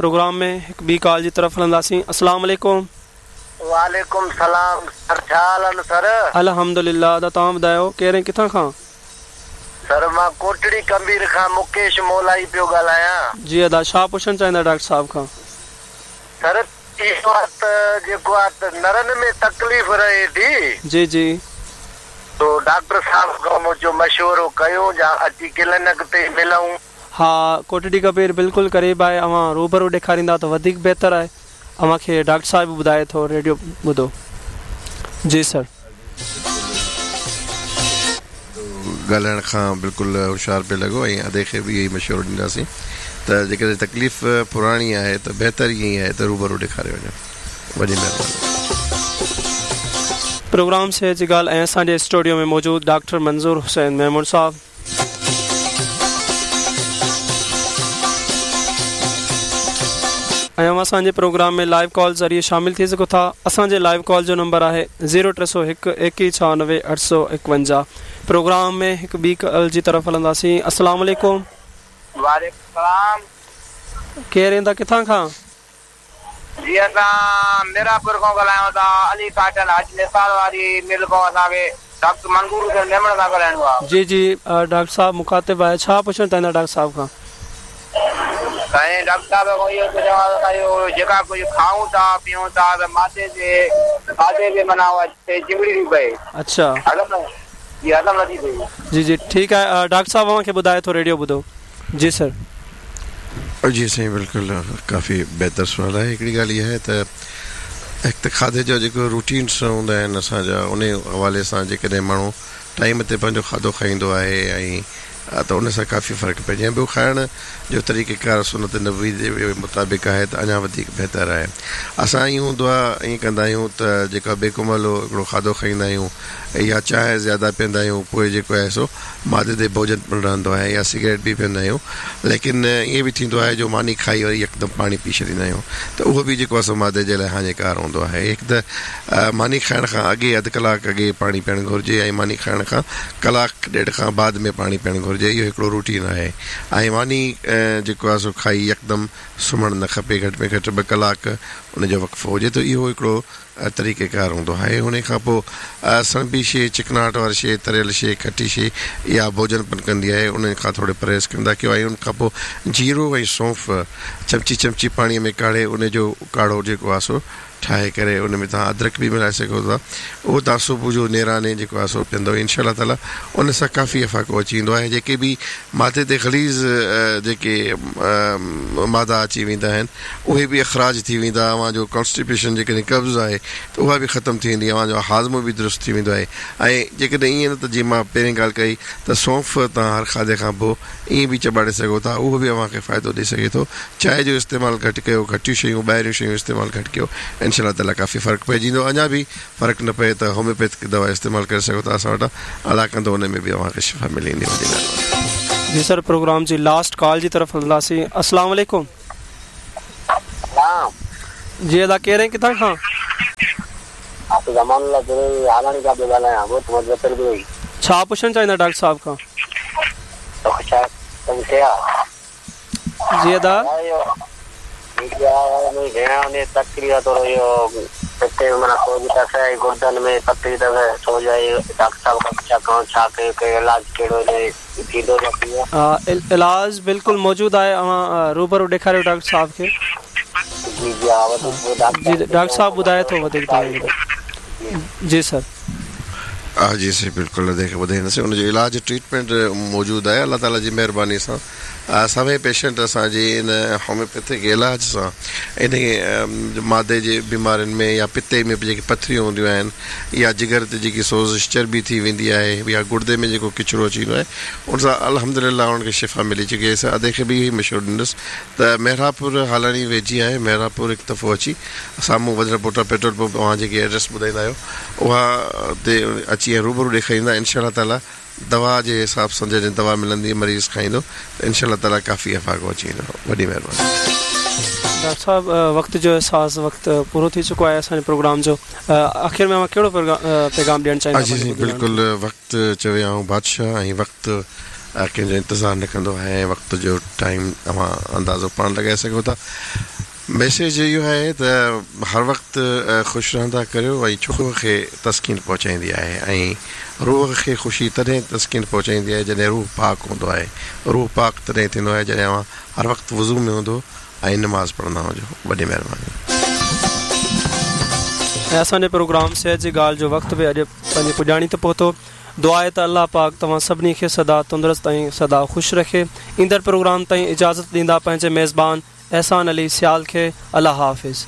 Programme ۾ هڪ ٻي call جي طرف هلنداسين اسلام عليڪم. وعليڪم سلام سر ڇا حال آهن سر. الحمدلله ادا توهان ٻڌايو ڪير ۽ ڪٿان کان. سر مان ڪوٽڙي ڪمبير کان مڪيش مولائي پيو ڳالهايان. جي ادا ڇا پڇڻ چاهيندا ڊاڪٽر صاحب کان. سر اهو آ ته جيڪو آ ته نرن ۾ تڪليف رهي ٿي. جي جي. سو ڊاڪٽر صاحب کان مون چيو مشورو ڪيون جا اچي ڪلينڪ تي ملون. ها ڪوٽڙي ڪبير بلڪل قريب آهي اوهان روبرو ڏيکاريندا ته وڌيڪ بهتر آهي اوهان کي ڊاڪٽر صاحب به ٻڌائي ٿو ريڊيو ٻڌو جي سر. ڳالهائڻ کان بلڪل هوشيار پئي لڳو ۽ ادي کي به اهو ئي مشورو ڏينداسين ته جيڪڏهن تڪليف پراڻي آهي ته بهتر ائين ئي آهي ته روبرو ڏيکاري وڃو وڏي مهرباني. پروگرام صحت جي ڳالهه ۽ اسان جي اسٽوڊيو ۾ موجود ڊاڪٽر منظور حسين ميمڻ صاحب. ۽ اوهان اسان جي پروگرام ۾ لائيو ڪال ذريعي شامل ٿي سگهو ٿا اسان جي لائيو ڪال جو نمبر آهي زيرو 301 21 96 851 پروگرام ۾ هڪ ٻي ڪال جي طرف هلنداسين السلام عليڪم. وعليڪم السلام. ڪير ادا ڪٿان کان. جي اسان ميراپور کان ڳالهايون ٿا علي ڪاٽن حاجي نثار واري مل کان اسان کي ڊاڪٽر منظور حسين ميمڻ سان ڳالهائڻو آ. جي جي ڊاڪٽر صاحب مخاطب آهي ڇا پڇڻ چاهيندا ڊاڪٽر صاحب کان. سائين ڊاڪٽر صاحب کان اهو پڇڻو آ ته اسان اهو جيڪا ڪجهه کائون ٿا پيئون ٿا ته معدي تي کاڌي تي معنيٰ اها شي چنبڙي ٿي پئي اڇا هضم نه جي هضم نه ٿي ٿئي. جي جي ٺيڪ آهي ڊاڪٽر صاحب اوهان کي ٻڌائي ٿو ريڊيو ٻڌو جي سر. جي سائين بلڪل ڪافي بهتر سوال آهي هڪڙي ڳالهه اها آهي ته هڪ ته کاڌي جا جيڪو روٽينس هوندا آهن اسان جا انهي حوالي سان جيڪڏهن ماڻهو ٽائيم تي پنهنجو کاڌو کائيندو آهي ۽ ته ان سان ڪافي فرق پئجي ۽ ٻيو کائڻ جو طريقه ڪار سنت نبوي جي مطابق آهي ته اڃا وڌيڪ بهتر آهي اسان ائين هوندو آهي ائين ڪندا آهيون ته جيڪا بيڪو مهل هڪڙو کاڌو کائيندا آهيون يا چانهه زياده پيئندا آهيون پوء جيڪو آهي سو معدي تي بوجن پڻ رهندو آهي يا سگريٽ به پيئندا آهيون ليڪن ائين به ٿيندو آهي جو ماني کائي وري يڪدم پاڻي پي ڇڏيندا آهيون ته اهو به جيڪو آهي سو معدي جي لاء هاڃيڪار هوندو آهي هڪ ته ماني کائڻ کان اڳي اڌ ڪلاڪ اڳي پاڻي پيئڻ گهرجي ۽ ماني کائڻ کان ڪلاڪ ڏيڍ کان بعد ۾ پاڻي پيئڻ گهرجي اهو هڪڙو روٽين آهي ۽ ماني جيڪو آهي سو کائي يڪدم سمهڻ نه کپي گهٽ ۾ گهٽ ٻه ڪلاڪ ان جو وقفو هجي ته اهو هڪڙو طريقه ڪار هوندو آهي. انهي کان پوء سڻڀي شيء، چڪناهٽ واري شيء، تريل شيء، کٽي شيء اها ڀوڄن پڻ ڪندي آهي. انهن کان ٿوري پرهيز ڪندا ڪيو ۽ ان کان پوء جيرو ۽ سونف چمچي چمچي پاڻيء ۾ ڪاڙهي انهي جو ڪاڙهو جيڪو آهي سو ٺاهي ڪري ان ۾ توهان ادرڪ به ملائي سگهو ٿا. اهو توهان صبح جو نيراني جيڪو آهي سو پيئندؤ انشاء الله تعاليٰ ان سان ڪافي افاقو اچي ويندو آهي. جيڪي به معدي تي غليظ جيڪي مادا اچي ويندا آهن. اهي به اخراج ٿي ويندا، اوهان جو ڪانسٽيپيشن جيڪڏهن قبض آهي ته اها به ختم ٿي ويندي، اوهان جو هاضمو به درست ٿي ويندو آهي ۽ جيڪڏهن ائين نه ته جيئن مان پهرين ڳالهه ڪئي ته سونف توهان هر کاڌي کان پوء ائين به چٻاڙي سگهو ٿا اهو به اوهان کي فائدو ڏئي سگهي ٿو، چانهه جو استعمال گهٽ ڪيو، گهٽيون شيون ٻاهريون شيون استعمال گهٽ ڪيو انشاء الله تعاليٰ ڪافي فرق پئجي ويندو اڃا به فرق نه پئي ته هوميوپيٿڪ دوا استعمال ڪري سگهو ٿا اسان وٽان الله ڪندو ان ۾ به اوهان کي شفا ملي ويندي وڏي مهرباني. جي سر پروگرام جي لاسٽ ڪال جي طرف هلنداسين السلام عليڪم. سلام. جي ادا ڪير ۽ ڪٿان کان. حافظ امان الله بروهي هالاڻي کان پيو ڳالهايان ڳوٺ مظفر بروهي. ڇا پڇڻ چاهيندا ڊاڪٽر صاحب کان. جي ادا. علاج بلڪل موجود آهي اوهان روبرو ڏيکاريو ڊاڪٽر صاحب کي. جي ڊاڪٽر صاحب ٻڌائي ٿو وڌيڪ توهان کي جي سر. جي سائين بلڪل ادي کي ٻڌائينداسين ان جو علاج ٽريٽمينٽ موجود آهي الله تعالي جي مهرباني سان سوين پيشنٽ اسان جي ان هوميوپيٿڪ علاج سان انهي معدي جي بيمارين ۾ يا پتي ۾ به جيڪي پٿريون هونديون آهن يا جگر تي جيڪي سوزش چرٻي ٿي ويندي آهي يا گڙدي ۾ جيڪو ڪچرو اچي ويندو آهي ان سان الحمد لله انهن کي شفا ملي چڪي آهي ادي کي به اهو ئي مشورو ڏيندس ته محرابپور هالاڻي ويجهي آهي محرابپور هڪ دفعو اچي سامهون وڌڙ پوٽا پيٽرول پمپ اوهان جيڪي ايڊريس ٻڌائيندا آهيو اها تي اچي ۽ روبرو ڏيکاريندا انشاء الله تعالي دوا جي حساب سان جڏهن دوا ملندي مريض کائيندو ته انشاء الله تعالي ڪافي افاقو اچي ويندو وڏي مهرباني. ڊاڪٽر صاحب وقت جو احساس وقت پورو ٿي چڪو آهي اسان جي پروگرام جو آخر ۾ اوهان ڪهڙو پيغام ڏيڻ چاهيندا جي سائين بلڪل وقت چوي آئون بادشاهه ۽ وقت ڪنهن جو انتظار نه ڪندو آهي ۽ وقت جو ٽائيم اوهان اندازو پاڻ لڳائي سگهو ٿا. ميسيج اهو آهي ته هر وقت خوش رهندا ڪريو ۽ ڇو روح کي تسڪين پهچائيندي آهي ۽ روح کي خوشي تڏهن تسڪين پهچائيندي آهي جڏهن روح پاڪ هوندو آهي روح پاڪ تڏهن ٿيندو آهي جڏهن اوهان هر وقت وضو ۾ هوندو ۽ نماز پڙهندا هجو وڏي مهرباني. ۽ اسان جي پروگرام صحت جي ڳالهه جو وقت به اڄ پنهنجي پڄاڻي تي پهتو. دعا آهي ته الله پاڪ توهان سڀني کي سدا تندرست ۽ سدا خوش رکي. ايندڙ پروگرام تائين اجازت ڏيندا پنهنجي ميزبان احسان علي سيال کي الله حافظ.